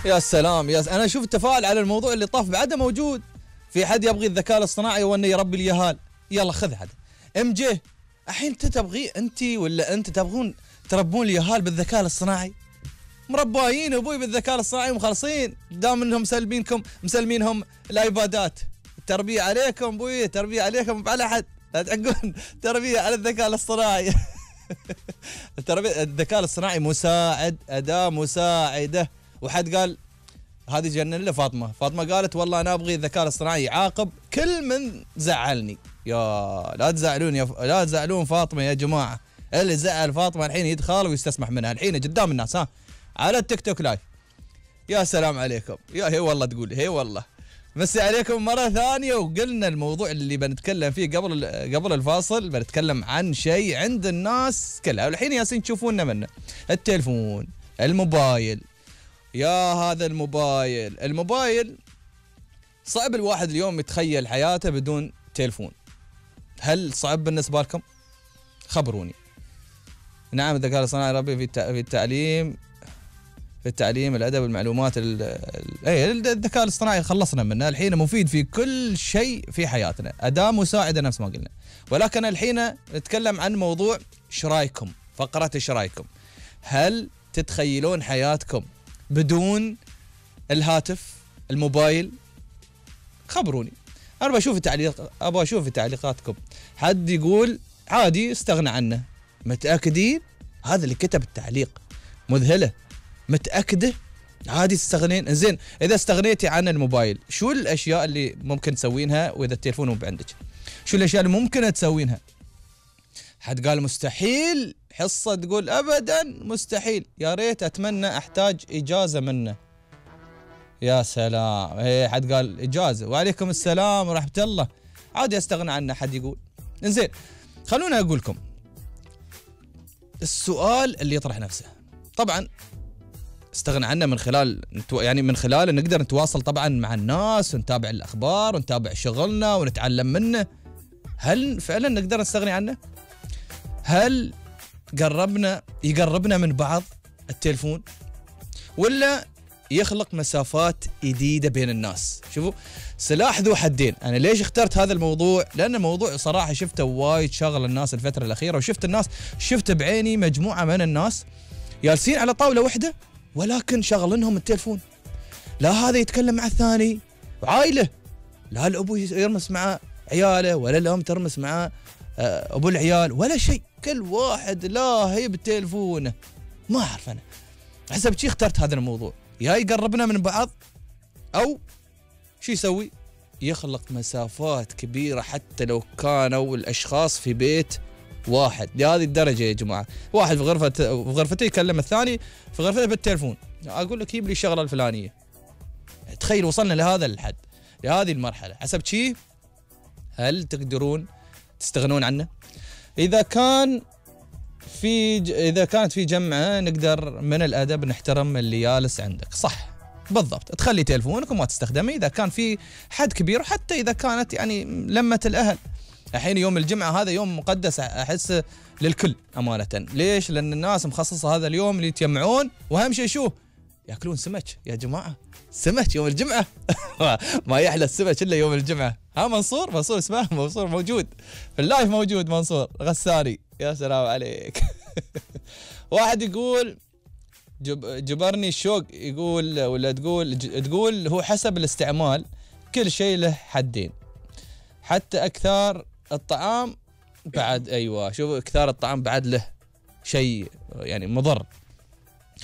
يا سلام انا اشوف التفاعل على الموضوع اللي طاف بعده موجود. في حد يبغي الذكاء الاصطناعي وانه يربي اليهال؟ يلا خذ هذا ام جي. الحين انت تبغي انت ولا انت تبغون تربون اليهال بالذكاء الاصطناعي؟ مرباين ابوي بالذكاء الاصطناعي ومخلصين، دام انهم مسلمينهم الايبادات. التربيه عليكم ابوي، التربيه عليكم على حد، لا تعقون تربيه على الذكاء الاصطناعي. الذكاء الاصطناعي مساعد، اداه مساعده. وحد قال هذه جنن له فاطمه قالت والله انا ابغي الذكاء الاصطناعي يعاقب كل من زعلني. يا لا تزعلون لا تزعلون فاطمه يا جماعه. اللي زعل فاطمه الحين يدخل ويستسمح منها الحين قدام الناس على التيك توك لايف. يا سلام عليكم. يا هي والله تقول هي والله. مسي عليكم مرة ثانية. وقلنا الموضوع اللي بنتكلم فيه قبل الفاصل، بنتكلم عن شيء عند الناس كلها والحين ياسين تشوفوننا منه، التلفون، الموبايل. يا هذا الموبايل صعب الواحد اليوم يتخيل حياته بدون تلفون. هل صعب بالنسبة لكم؟ خبروني. نعم الذكاء الاصطناعي ربي في التعليم الادب المعلومات الذكاء الاصطناعي خلصنا منه الحين، مفيد في كل شيء في حياتنا، اداه مساعده نفس ما قلنا. ولكن الحين نتكلم عن موضوع ايش رايكم، فقره ايش رايكم. هل تتخيلون حياتكم بدون الهاتف الموبايل؟ خبروني. انا ابغى اشوف تعليقاتكم. حد يقول عادي استغنى عنه. متاكدين؟ هذا اللي كتب التعليق مذهله. متأكدة؟ عادي تستغنين؟ زين إذا استغنيتي عن الموبايل شو الأشياء اللي ممكن تسوينها وإذا التليفون مو بعندك؟ شو الأشياء اللي ممكن تسوينها؟ حد قال مستحيل، حصة تقول أبدا مستحيل، يا ريت أتمنى أحتاج إجازة منه. يا سلام. إيه حد قال إجازة. وعليكم السلام ورحمة الله. عادي أستغنى عنه حد يقول. زين خلونا أقول لكم السؤال اللي يطرح نفسه. طبعا استغنى عنه من خلال نقدر نتواصل طبعا مع الناس ونتابع الأخبار ونتابع شغلنا ونتعلم منه. هل فعلا نقدر نستغني عنه؟ هل يقربنا من بعض التلفون ولا يخلق مسافات جديدة بين الناس؟ شوفوا سلاح ذو حدين. أنا ليش اخترت هذا الموضوع؟ لأن الموضوع صراحة شفته وايد شغل الناس الفترة الأخيرة، شفت بعيني مجموعة من الناس جالسين على طاولة واحدة ولكن شغلنهم التلفون. لا هذا يتكلم مع الثاني عائلة، لا الأبو يرمس مع عياله ولا الأم ترمس مع أبو العيال ولا شيء، كل واحد لاهي بتلفونه. ما أعرف أنا حسب شي اخترت هذا الموضوع، يا يقربنا من بعض أو شو يسوي؟ يخلق مسافات كبيرة حتى لو كانوا الأشخاص في بيت واحد. لهذه الدرجة يا جماعة. واحد في غرفته يكلم الثاني في غرفته بالتلفون. أقول لك جيب لي الشغلة الفلانية. تخيل وصلنا لهذا الحد، لهذه المرحلة. حسب شي هل تقدرون تستغنون عنه؟ إذا كانت في جمعة نقدر من الأدب نحترم اللي جالس عندك، صح بالضبط، تخلي تلفونك وما تستخدمه إذا كان في حد كبير، وحتى إذا كانت لمة الأهل. الحين يوم الجمعة هذا يوم مقدس أحس للكل أمانة. ليش؟ لأن الناس مخصصة هذا اليوم اللي يتجمعون، وأهم شيء شو؟ يأكلون سمك يا جماعة. سمك يوم الجمعة. ما يحلى السمك إلا يوم الجمعة. منصور اسمه منصور موجود في اللايف، موجود منصور غساني. يا سلام عليك. واحد يقول جبرني الشوق، يقول ولا تقول هو حسب الاستعمال، كل شيء له حدين، حتى أكثر الطعام بعد. أيوة شوف، أكثر الطعام بعد له شيء مضر.